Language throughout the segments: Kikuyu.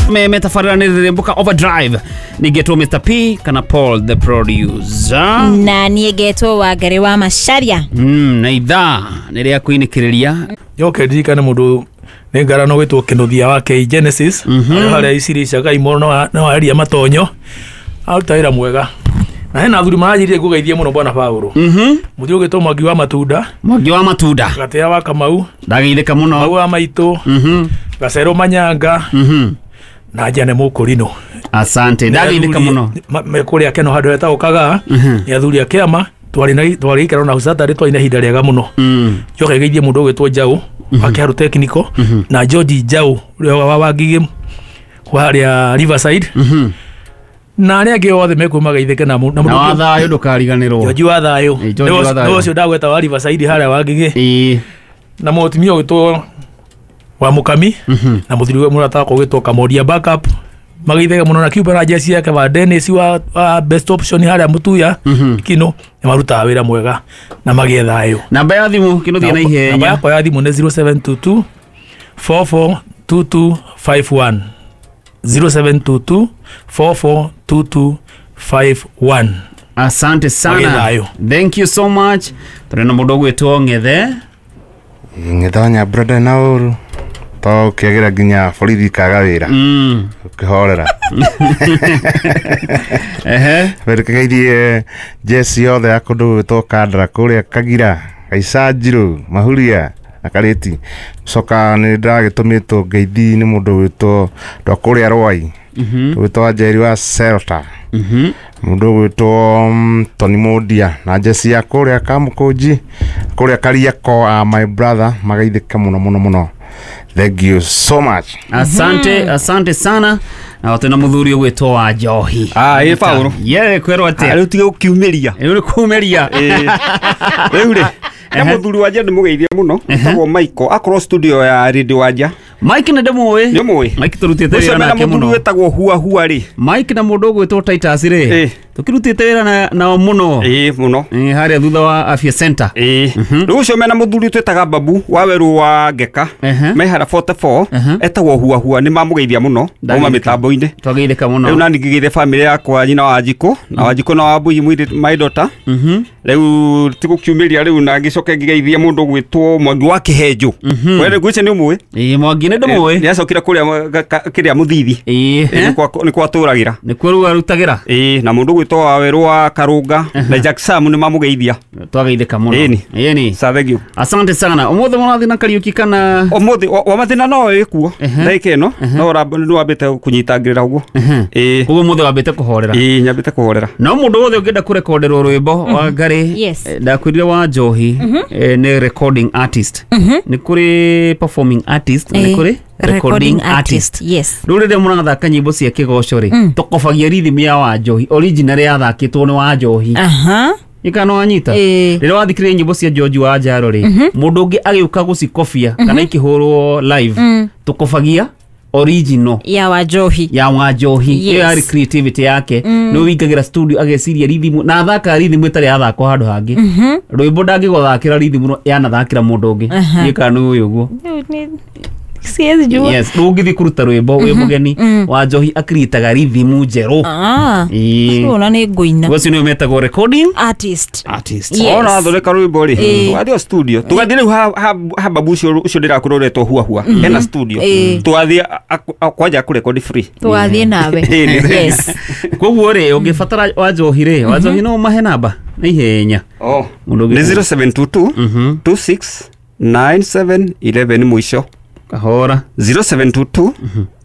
Metabarĩra nĩ rĩrĩmbũka overdrive ningĩtwo Mr P kana Paul the producer. Na niĩ ngetwo Wangari wa Macharia. Na ithaa nĩ rĩa kũinĩkĩrĩria. Njoke ndirikane mũndũ nĩ ngarano gwĩtwo Kĩnuthia wa K Genesis arĩa harĩa Icirica Kaimoro no aria matonyo aruta wĩra mwega na hena athuri maranjĩrire ngũgeithie mũno bwana Paũlũ. Mũthuri ũgĩtwo Mwangi wa Matunda. Mwangi wa Matunda. Gatea wa Kamau. Ndageithĩka mũno. Mau wa Maitũ. Gacero Manyanga. Na Jane Mũkũrinũ. Asante, ndageithĩka mũno. Mekũrĩa Keno handũ hetagwo Kagaa. Nĩ athuri a kĩama twarĩ gĩikaro na Saturday twarĩ na ihinda rĩega mũno. Njoke ngeithie mũndũ ũgwĩtwo Njaũ wa Kĩharũ Technical na George Njaũ ũrĩa wa Wangigĩ wa harĩa Riverside. Na arĩa angĩ othe mekuo magaithĩke na Na wa thayũ ndũkariganĩrwo. George wa thayũ. George wa thayũ. Nĩ ũcio ndagweta wa Riverside harĩa Wangigĩ. Na mũtumia ũgwĩtwo wa Mũkami na mũthuri we mũrata wakwa ũgwĩtwo Kamoria backup magaithĩke mũno na Cuba na jesi yake wa Dennis wa best option harĩa Mũtuya Kino nĩ marutaga wĩra mwega na magĩe thayũ. Namba ya thimũ Kĩnuthia na ihenya. Namba yakwa ya thimũ nĩ 0722 442251 0722 442251. Asante sana. Thank you so much. Tũrĩ na mũndũ ũgwĩtwo Ng'ethe. Ng'ethe wa Nyambura na ũru to ũkĩagĩra nginya borithi kaga wĩra ũkĩhorera. Reke jesi yothe ya kũndũ gwĩtwo Kandara kũrĩa Kagira Gaicanjirũ Mahuria na Karĩti. Coka nĩ ndĩragĩtũmĩtwo ngeithi nĩ mũndũ ũgwĩtwo andũ a kũrĩa Rwai ũgwĩtwo Wanjeri wa Celta mũndũ ũgwĩtwo Tony Mũndia na jesi ya kũrĩa Kamũkũnji kũrĩa Kariako my brother magaithĩka mũno mũno mũno. Thank you so much. Asante, asante sana. Na watu na muthuri ũgwĩtwo wa Njohi. Ĩ Paũlũ. Ye kwĩrwo atĩa? Rĩu tige gũkiumĩria. Rĩu nĩ kuumĩria. Rĩu rĩ, na muthuri wa Nja ndĩmũgeithie mũno etagwo Michael akorwo studio ya Radio Wanja. Mike nĩ ndĩmũĩ. Nĩ ũmũĩ? Mike tũrutĩte wĩra nake mũno. Mũthuri wĩtagwo Hua Hua rĩ. Mike na mũndũ ũgwĩtwo Titus rĩ. Tũkĩrutĩte wĩra nao mũno. Ĩ mũno. Harĩa thutha wa Afya Center. Ĩ. Rĩu ũcio mena mũthuri twĩtaga Babu wa werũ wa Ngeka. Me harĩa 44 etagwo Hua Hua nĩ mamũgeithia mũno. Auma mĩtambo-inĩ. Twageithĩka mũno. Rĩu nani ngĩgeithia family yakwa nyina wa Njikũ na Wanjikũ na Wambui my daughter. Rĩu tigũkiumĩria rĩu na ngĩcoke ngĩgeithia mũndũ ũgwĩtwo Mwangi wa Kĩhenjo. We ngwĩciria nĩ ũmũĩ? Ĩ Mwangi nĩ ndĩmũĩ. Nĩ acokire kũrĩa kĩrĩa Mũthithi. Nĩ kwa atũragĩra. Nĩ kuo rĩu arutagĩra. Ĩ na mũndũ ũgwĩtwo wa werũ wa Karũnga na Jack Sam nĩ mamũgeithia. Twageithĩka mũno. Ĩni. Sa thank you. Asante sana. Ũmũthĩ mũrathiĩ na Kariũki kana ũmũthĩ wa mathĩna no ĩkuo ndagĩka ĩno no nĩ wambĩte kũnyitangĩrĩra ũguo. Ĩ koguo ũmũthĩ wambĩte kũhorera. Ĩ nyambĩte kũhorera. No mũndũ wothe ũngĩenda kũrekonderwo rwĩmbo wa Ngarĩ ndakwĩrire wa Njohi nĩ recording artist. Nĩ kũrĩ performing artist na nĩ kũrĩ recording artist. Yes. Rĩu rĩrĩa mũrathaka nyĩmbo cia kĩgoco rĩ tũkobagia rhythm ya wa Njohi original yathakĩtwo nĩ wa Njohi. Ikano wanyita rĩrĩa wathikĩrĩria nyĩmbo cia George wa Njaro rĩ mũndũ ũngĩ agĩũka gũcikobia kana ikĩhũrwo live tũkobagia original ya wa Njohi. Ya wa Njohi. Iyo yarĩ creativity yake. Nĩ wĩingagĩra studio ageciria rhythm na athaka rhythm ĩtarĩ yathakwo handũ hangĩ. Rwĩmbo ndangĩgũthakĩra rhythm yanathakĩra mũndũ ũngĩ. Ĩka nĩ ũyũ ũguo. Siwezi jua. Yes, rĩu ũngĩthiĩ kũruta rwĩmbo wĩ mũgeni wa Njohi akiritaga rhythm njerũ. Ona nĩ ngũina. Ũcio nĩwe metagwo recording artist. Artist. Ona athondeka rwĩmbo rĩ tũgathiĩ studio tũgathiĩ rĩu ha Babu ũcio ndĩrakwĩra ũretwo Hua Hua ena studio tũgathiĩ kwanja kũrekodi free. Tũgathiĩ nawe. Yes. Koguo rĩ ũngĩbatara wa Njohi rĩ wa Njohi no mahe namba na ihenya. Nĩ 0722 26 97 11 mũico. Kahora 0722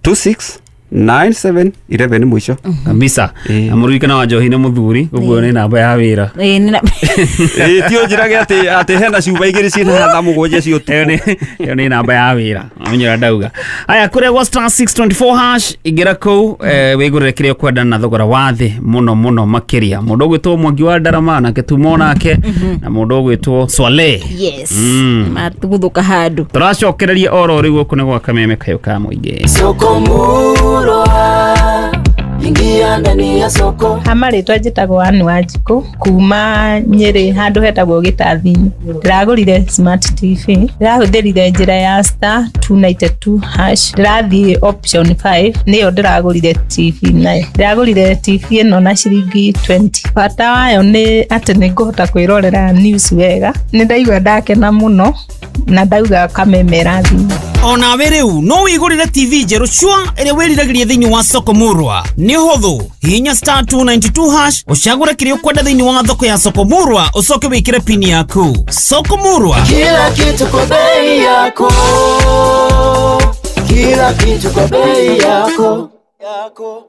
26 97 11 mũico kabisa. Na mũririkana wa Njohi nĩ mũthuri koguo nĩ namba ya wĩra. Ti ũnjĩrage atĩ hena cuba igĩrĩ ciĩna thaa mũgwanja cia ũtukũ. Ĩyo nĩ namba ya wĩra amenyera ndauga. Aya kũrĩa gwa star 624 hash ingĩra kũu wĩgũrĩre kĩrĩa ũkwenda na thogora wa thĩ mũno mũno makĩria. Mũndũ ũgwĩtwo Mwangi wa Ndarama nake tumo nake na mũndũ ũgwĩtwo Swale. Yes. Matuguthuka handũ. Tũracokereria oro rĩu gũkũ nĩ gwa Kameme Kayũ ka Mũingĩ. Soko murwa Ingia ndani ya soko. Hamarĩtwa njĩtagwo Ann Wanjikũ kuma Nyĩrĩ handũ hetagwo Gĩtathi-inĩ. Ndĩragũrire smart TV, ndĩrahũthĩrire njĩra ya star 292 hash, ndĩrathiĩ option 5 nĩyo ndĩragũrire TV nayo. Ndĩragũrire TV ĩno na ciringi 20. Bata wayo nĩ atĩ nĩ ngũhota kwĩrorera news wega. Nĩ ndaigua ndakena mũno na ndauga kameme ĩrathimwo. Onawe rĩu no wĩgũrĩre TV njerũ cua ĩrĩa wĩriragĩria thĩinĩ wa soko murwa. Nĩ ũhũthũ, hihinya star 292 hash ũcagũre kĩrĩa ũkwenda thĩinĩ wa thoko ya soko murwa, ũcoke wĩkĩre pini yaku. Soko murwa, Kila kitu kwa bei yako. Kila kitu kwa bei yako. Yako.